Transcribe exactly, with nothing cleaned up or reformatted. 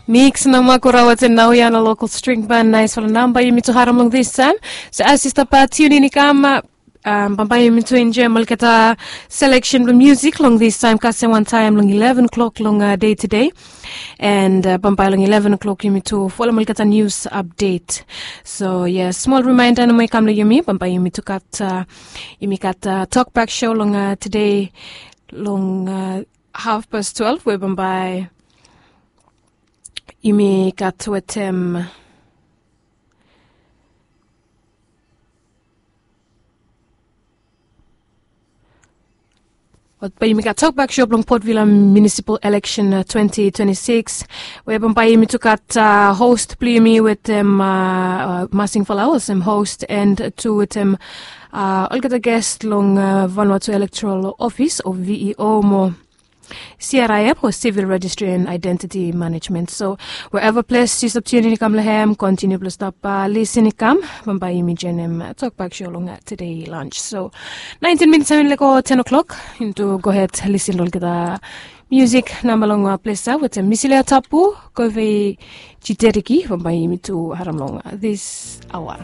Miks na makura waten nao ya na lokal string ban naisfala namba yumi tu haram long this time. So as you stop uh, tune in i kam uh, um, bambae yumi tu enjoy olgeta selection blong music long this time kasem wan time long eleven o'clock long uh, day today. And uh, bambae long eleven o'clock yumi tu follow olgeta news update. So yeah, small reminder na mo i kam long yumi bambae yumi tu kat uh, yumi kat uh, talk back show long uh, today long uh, half past twelve we bambae yumi kat wetem But bai yumi gat tokbak show blong Port Vila Municipal Election uh, twenty twenty-six. We bambae yumi tu gat uh, host blong yumi wetem uh, uh, Masing Falawas em host and tu wetem uh, olgeta guest long uh, Vanuatu Electoral Office o V E O mo C R I M o Civil Registry and Identity Management. So wherever place you stop tuning kam lehem, continue blong stop uh, listen kam. Bambae yumi joinem uh, tokbak show long uh, today lunch. So nineteen minutes seven leko ten o'clock into go ahead listen long the music namba long uh, place uh, with uh, Misilia Tapu, Kove Chiteriki, bambae yumi tu haram long uh, this hour.